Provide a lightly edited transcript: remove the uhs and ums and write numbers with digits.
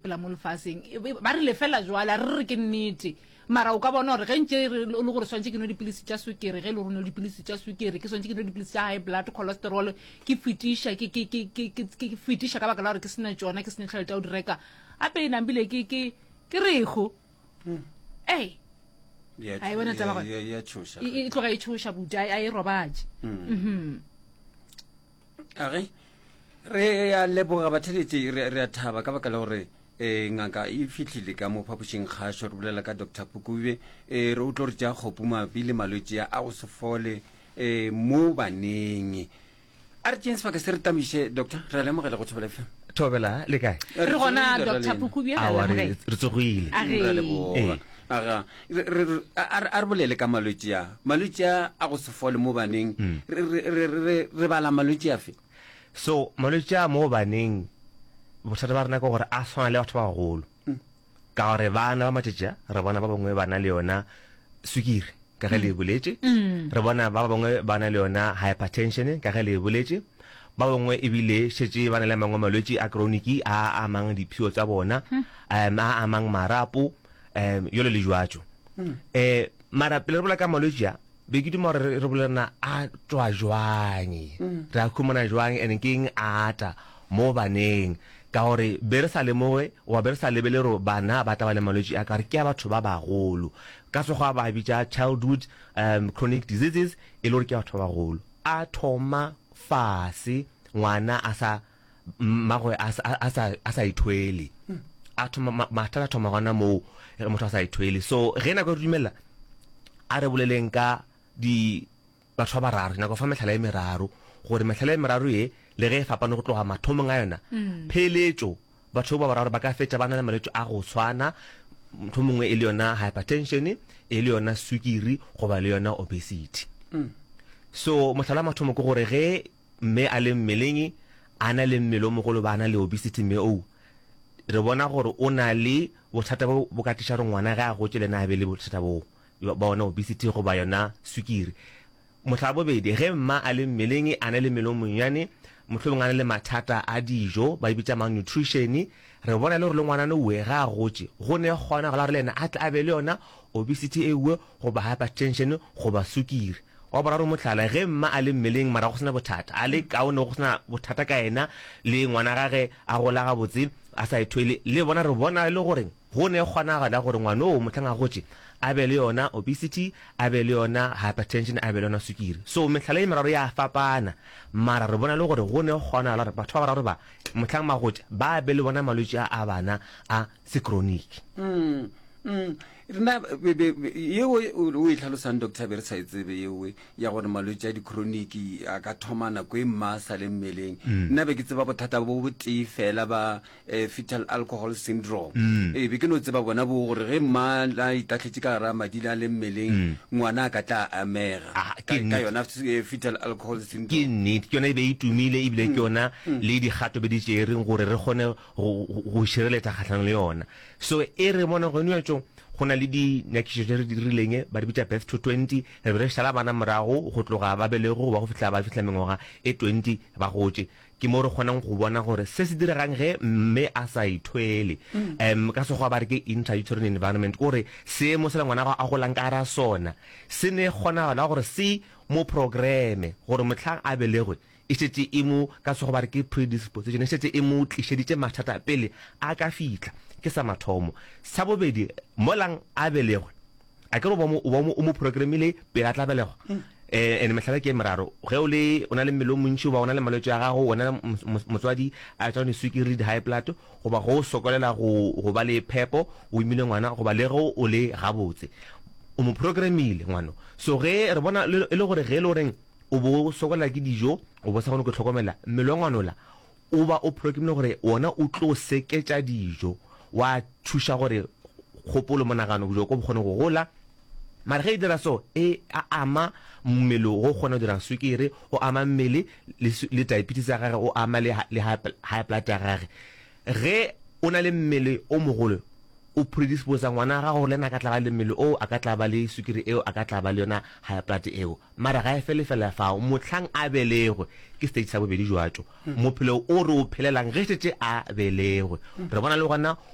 sepela mo lefaseng. Ba rile fela jwale, a re re ke nnete. Mara o ka bona gore ge ntše re le gore swantše ke nwe dipilisi tša swikiri, ge e le gore o nwe dipilisi tša swikiri, ke swantše ke nwe dipilisi tša high blood cholesterol, ke fetiša, ke, ke, ke, ke, ke, ke fetiša ka baka la gore ke se na tšona, ke se na tšhelete ya go di reka. Gape e nambile ke, ke, ke rego. Ei. Ya A e bona taba gona? ya ya tšhoša. E, e tloga e tšhoša buti, a, a e robatše. Mhm. A ge re a leboga batheletši, re, re a thaba ka baka la gore e, ngaka e fihlile ka mo phapošing kgašo re bolela ka Doctor Phukube e, re o tlo re tšea kgopu mabapi le malwetši a go se fole e, mo baneng. A re tšeeng sebaka se re tamiše doctor, re a lemogela go Thobela FM. Thobela le kae? Re gona Doctor Phukubye, re a Aowa, re lemogela. re tsogile. A Re a re. leboga. Ee. Aga, re, re, re, a, a re bolele ka malwetši a. Malwetši a a go se fole mo baneng, re, re, re, re, re bala malwetši afe? So, malwetši a mo baneng, bothata ba rena ke gore a swana le batho ba bagolo. Ka gore bana ba matšatši a, re bona ba bangwe ba na le yona swikiri, ka ge le e boletše. Re bona ba bangwe ba na le yona hypertension, ka ge le e boletše. Ba bangwe ebile šetše ba na le a mangwe malwetši a chronic a amang diphio tša bona, um a amang marapo, um jalo le jwatšo. Um mara pele re bolela ka malwetši a, be ke duma gore re bolele na a tšwa jwang, re a humana jwang, and ke eng a ata mo baneng. Ka gore be re sa lemoge goba be re sa lebele gore bana ba tla ba le malwetši a ka gore ke a batho ba bagolo. Ka Sekgowa ba a bitša childhood um chronic diseases, e le gore ke a batho ba bagolo. A thoma fase ngwana a sa mmagwe a, a, a sa, a sa ithwele. A thoma, ma, mathata a thoma gona moo ge motho a sa ithwele. So ge nako e re dumelela, a re boleleng ka di batho ba bararo, nako fa mehlala e meraro, gore mehlala e meraro ye le ge e fapane go tloga mathomong a yona, pheletšo batho ba bararo ba ka fetša ba na le malwetši a go tshwana, mohlomongwe e le yona hypertension, e le yona swikiri goba le yona obesity. So mohlala wa mathomo ke gore ge mme a le mmeleng a na le mmele o mogolo ba a na le obesity mme oo re bona gore o na le bothata bo bo ka tliša gore ngwana ge a gotše le yena a be le bothata boo ba ona obesity goba yona swikiri. Mohlala bobedi, ge mma a le mmeleng a na le mmele o monnyane mohlomongwe a na le mathata a dijo ba e bitša malnutrition, re bona e le gore le ngwanana owe ge a gotše go ne kgonagalo ya gore le yena a tle a be le yona obesity ewe goba hypertension goba sukiri. Wa boraro mohlala, ge mma a le mmeleng mara go se na bothata, a le kaone go se na bothata ka yena le ngwana gage a gola gabotse a sa ithwele, le bona re bona e le gore go ne kgonagalo ya gore ngwanoo mohlang a gotše a be le yona obesity, a be le yona hypertension, a be le yona sukiri. So mehlala ye meraro ya fapana mara re bona e le gore go ne kgonagalo ya gore batho ba bararo ba mohlang ba gotše ba be le bona malwetši a a bana a sekroniki. Mm. Rena be, be, be, yeo o e tlhalosang doctor be re sa e tsebe yeo ya gore malwetši a di-chronic a ka thoma nako e mma a sa le mmeleng. Mm. Nna be ke tseba bothata bo botee fela ba eh, fetal alcohol syndrome. Mm. Ee, be ke no tseba bona bo gore ge mma a itahletše ka gara madi a le mmeleng mm. ngwana a ka tla amega ah, ka, ka yona eh, fetal alcohol syndrome. Ke nnete, ke yona e be e tumile ebile ke mm. yona mm. le dikgato be di tšereng gore re kgone go, go, go šireletša kgahlanong le yona. So e re bona gone bjatšo go na le dinyakišišo tše re di dirileng, ba di bitša Birth to 20, re be re šala bana morago go tloga ba belegwe go ba go fihla ba fihla mengwaga e 20 ba gotše. Ke mo re kgonang go bona gore se se diregang ge mme a sa ithwele. Um ka Sekgowa ba re ke intrauterine environment, ke gore seemo sela ngwana a golang ka gara sona se ne kgonagalo ya gore se mo programme gore mohlang a belegwe E šetše e mo, ka Sekgowa ba re ke predisposition, e šetše e mo tlišeditše mathata pele a ka fihla. Ke sa mathomo. Sa bobedi, molang a belegwe, a ke re o ba mo, o ba mo, o mo programmile pele a tla belegwa. Eh, and mehlala ke e meraro. Ge o le, o na le mmele o montši, goba o na le malwetši a gago, wena motswadi, a tšwa diswikiri le di-high blood, goba ge o sokolela go, go ba le phepo, o imile ngwana, goba le ge o le gabotse. O mo programmile ngwano. So ge re bona e le gore ge e le goreng, O bo o sokolela ke dijo, o bo sa kgone go hlokomela mmele wa ngwanola, o ba o programmile gore wona o tlo seketša dijo, wa thuša gore kgopolo, monagano, bjoko bo kgone go gola. Mara ge e dira so, e a ama mmele go kgona go dira swikiri, o ama mmele le, le diabetes ya gage, o ama le, le high blood ya gage. Ge o na le mmele o mogolo, o predisposa ngwana wa gago gore le yena a ka tla ba le mmele oo, a ka tla ba le swikiri eo, a ka tla ba le yona high blood eo. Mara ga e fele fela fao, mohlang a belegwe, ke stage sa bobedi jwa tšo, mophelo o re o phelelang ge šetše a belegwe. Re bona le gona.